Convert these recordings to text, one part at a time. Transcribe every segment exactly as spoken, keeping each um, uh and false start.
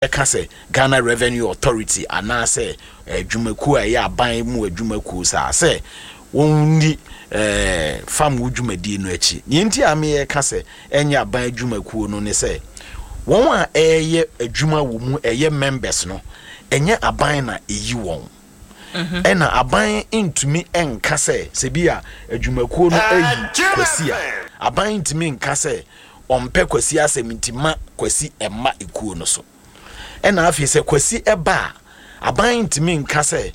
Ɛka sɛ Ghana Revenue Authority anaasɛ adwumakuo a ɛyɛ aban mu adwumakuo saa sɛ wɔnni ɛɛ fam wo dwumadie no akyi. Nea nti a meyɛka sɛ ɛnyɛ aban adwumakuo no ne sɛ wɔn a ɛyɛ adwuma wɔ mu, ɛyɛ members no, ɛnyɛ aban na ɛyi wɔn, ɛna aban ntumi nka sɛ sɛ bi a adwumakuo no ayi Kwasi a, aban ntumi nka sɛ ɔmpɛ Kwasi asɛm nti ma Kwasi ɛma ekuo no so. Ɛna afei sɛ Kwasi ɛba a, aban ntumi nka sɛ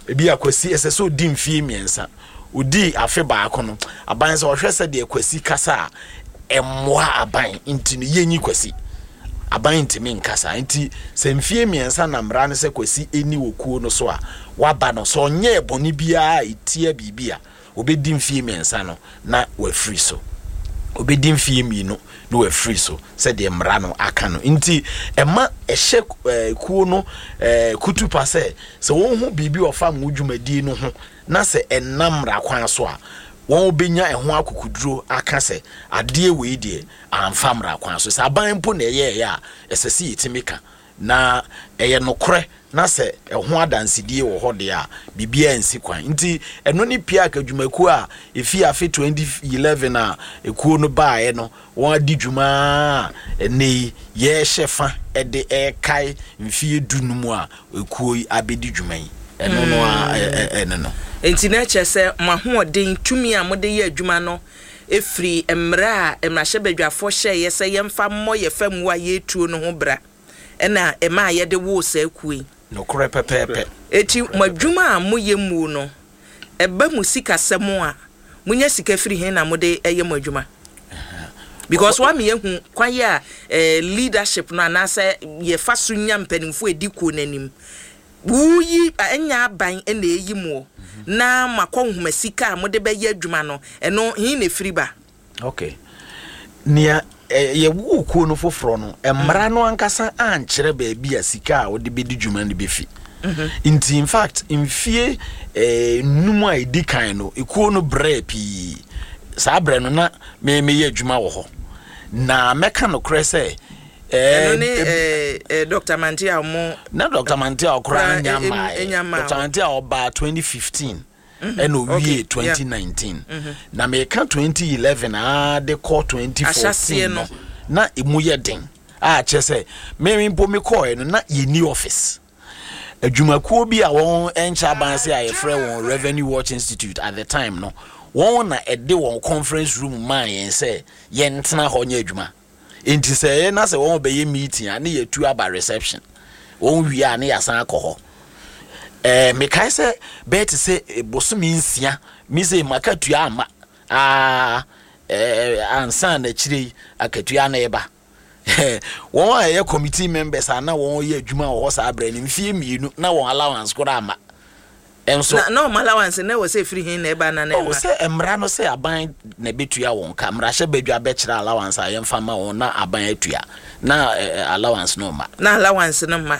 ebi a Kwasi ɛsɛ sɛ odi mfie mmiɛnsa, odi afe baako no, aban sɛ ɔhwɛ sɛ deɛ Kwasi kasa a ɛmmoa aban nti no yɛnyi Kwasi, aban ntumi nkasa. Nti sɛ mfie mmiɛnsa na mmara no sɛ Kwasi ɛni wɔ kuo no so a waba no, sɛ ɔnyɛ bɔne biara a ɛtia biribi a, obɛdi mfie mmiɛnsa no na wafiri so, obɛdi mfie mmienu na wafiri so sɛdeɛ mmara no aka no. Nti ɛma ɛhyɛ ɛɛ kuo no ɛɛ kutupa sɛ sɛ wɔn ho biribi ɔfa mu dwumadie no ho na sɛ ɛnam mmara kwan so a, wɔn bɛnya ɛho akokuduro aka sɛ adeɛ wei deɛ amfa mmara kwan so. Sɛ aban mpo na ɛyɛ ɛyɛ a, ɛsɛ sɛ yɛtumi ka na ɛyɛ nokorɛ na sɛ ɛho adansedie wɔ hɔ deɛ a, biribiara nsi kwan. Nti ɛno ne PIAC adwumakuo a ɛfi afe twenty eleven a ekuo no baeɛ no, wɔn adi dwuma a ɛnɛ yi yɛrehyɛ fa ɛde ɛrekae mfie du no mu a ekuo yi abɛdi dwuma yi. Ɛno no a ɛno no. Nti na kyerɛ sɛ mo ahoɔden tumi a mode yɛ adwuma no ɛfiri mmerɛ a mmarahyɛbadwafoɔ hyɛeɛ sɛ yɛmfa mmɔ yɛ fam a yɛretuo no ho bra, ɛna ɛma a yɛde woo saa kuo yi. Nokorɛ pɛpɛɛpɛ. Eti mo adwuma a moyɛ mu no, ɛba mu sikasɛm a monya sika firi hen na mode ɛyɛ mo adwuma? Because wa mi ehu kwan yɛ a eh, leadership no anaasɛ yɛfa so nya mpanimfoɔ edi kuo n'anim, wuyi ɛnya aban ɛna eyi mu na makɔ nhoma sika a mode bɛyɛ adwuma no, ɛno hin na efiri ba? Okay, nea yɛwɔ kuo no foforɔ no, mmara no ankasa ankyerɛ baabi a sika a wɔde bɛdi dwuma no bɛfi. Nti in fact mfie eh, num a ɛdi kan no, ekuo no brɛ pii. Saa brɛ no na me meyɛ adwuma wɔ hɔ na mɛka nokorɛ sɛ ɛno ne eh, eh, Doctor Mante a ɔmo Na Doctor Mante a ɔkora nya mmaeɛ. Doctor Mante a ɔbaa twenty fifteen ɛna owie twenty nineteen. Na meka twenty eleven aa de kɔ twenty fourteen no, na emu yɛ den a kyerɛ sɛ me mpo mekɔɛ no na yɛni office. Adwumakuo bi a wɔn nkyɛ aban se a yɛfrɛ wɔn Revenue Watch Institute at the time no, wɔn na ɛde wɔn conference room maa yɛn sɛ yɛntena hɔ nyɛ adwuma. Nti sɛ ɛyɛ na sɛ wɔn bɛyɛ meeting a, ne yɛtu aba reception, wɔn wie a ne yɛasan akɔ hɔ. ɛɛ mekae sɛ bɛyɛ te sɛ bosome nsia mi sɛ makatua ama aa ɛɛ ansa n'akyire yi akatua na ɛba. Wɔn a ɛyɛ committee members a na wɔn yɛ adwuma wɔ hɔ saa abirɛ no, mfie mmienu na wɔn allowance koraa ama ɛnso. na na ɔmo allowance na ɛwɔ sɛ efiri hin na ɛba na na ɛma? Sɛ mmara no sɛ aban na ɛbɛtua wɔn ka, mmarahyɛ badwa bɛkyerɛ allowance a yɛmfa ma wɔn na aban atua na ɛ allowance no ma. Na allowance no ma.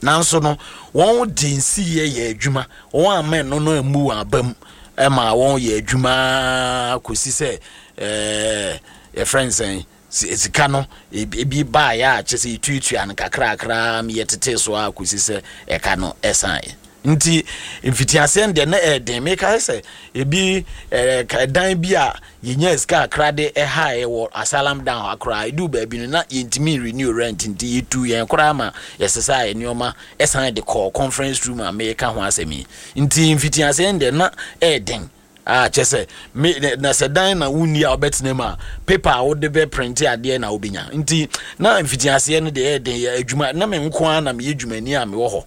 Nanso no wɔn de nsiyɛ yɛ adwuma, wɔn ama ɛno no emu wɔn aba mu ɛma wɔn yɛ adwuma kɔsi sɛ ɛɛ yɛfrɛ nsɛn sika no ebi baayɛ a kyɛ sɛ etuatua no kakrakra yɛ tete so a kɔsi sɛ ɛka no ɛsan. Nti mfitiaseɛ no deɛ na ɛɛden. Meka sɛ ebi ɛɛ ɛdan bi a yɛnya sika akra de ɛha wɔ Asylum Down akora, edu baabi no na yɛntumi renew rent, nti yɛtu yɛn koraa ma yɛsesa yɛ nneɛma ɛsan de kɔɔ conference room a meka ho asɛm yi. Nti mfitiaseɛ no deɛ na ɛɛden a kyɛ sɛ me na sɛ dan na wonni a wobɛtena mu a, paper a wode bɛ print adeɛ na wobɛnya. Nti na mfitiaseɛ no deɛ ɛɛden. Yɛ adwuma na me nko ara na meyɛ dwumani a mewɔ hɔ.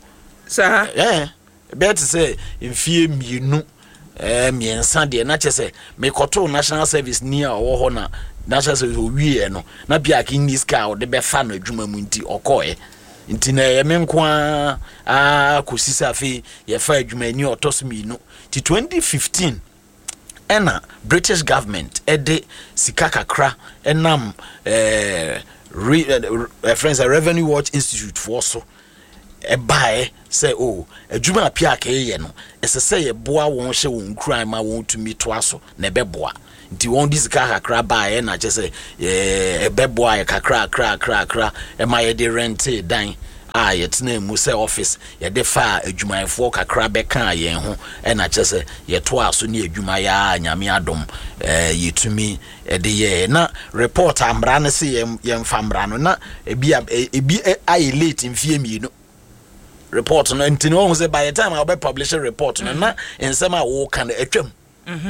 Saa. Ɛɛ bɛyɛ te sɛ mfie mmienu ɛɛ mmiɛnsa deɛ na kyɛ sɛ mekɔtoo national service ni a ɔwɔ hɔ na national service owieɛ no na PIAC nni sika a ɔde bɛfa no adwuma mu, nti ɔkɔɛ. Nti na ɛyɛ me nko ara aa kɔsi sɛ afei yɛfa adwumani a ɔtɔ so mmienu. Nti twenty fifteen ɛna British government ɛde sika kakra ɛnam ɛɛ re ɛfrɛ sɛ Revenue Watch Institute foɔ so ɛbaeɛ sɛ o adwuma a PIAC yɛ no, ɛsɛ sɛ yɛboa wɔn, hyɛ wɔn nkuran ma wɔn tumi toa so na ɛbɛboa. Nti wɔn de sika kakra baeɛ na kyɛ sɛ ɛɛ ɛbɛboa yɛ kakra kakra kakra ɛma yɛde rent dan. A yɛtena mu sɛ office yɛde fa adwumayɛfoɔ kakra bɛkaa yɛn ho, ɛna kyerɛ sɛ yɛtoa so ne adwuma yɛ a, Nyame adom, ɛɛ yɛtumi ɛde yɛɛ. Na report a mmara no se yɛn yɛmfa mmara no na ebi a ebi ayɛ late mfie mmienu report no. Nti no, wɔn sɛ by the time a wɔbɛ publish report no, na nsɛm a wɔreka no atwam,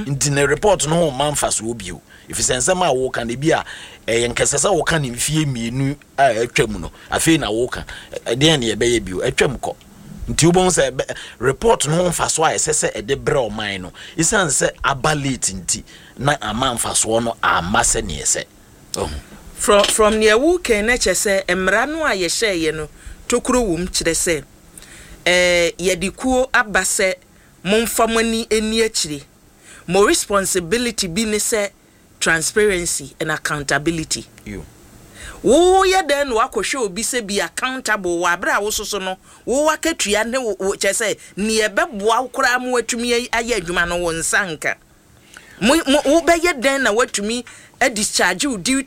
nti ne report no ho mma mfasoɔ bio, ɛfiri sɛ nsɛm a wɔreka no, ebi a ɛyɛ nkɛsɛ sɛ wɔka ne mfie mmienu a atwam no, afei na wɔreka ɛdeɛn ne yɛbɛyɛ bio? Atwam kɔ. Nti wobɛhu sɛ report no ho mfasoɔ a ɛsɛ sɛ ɛde brɛ ɔman no, ɛsiane sɛ aba late nti, na ama mfasoɔ no amma sɛneɛ sɛ. from from nea wokan no, kyerɛ sɛ mmara no a yɛhyɛeɛ no, tokuro wɔ mu, kyerɛ sɛ ɛɛ yɛde kuo aba sɛ momfa mo ani ani akyire. Mo responsibility bi ne sɛ transparency and accountability. Woyɛ dɛn na wakɔhwɛ obi sɛ be accountable wɔ abere a wososo no wo akatua ne wo, kyerɛ sɛ nea ɛbɛboa wo koraa mo atumi ayɛ adwuma no, wo nsa nka mo mo? Wobɛyɛ dɛn na watumi discharge wo duty?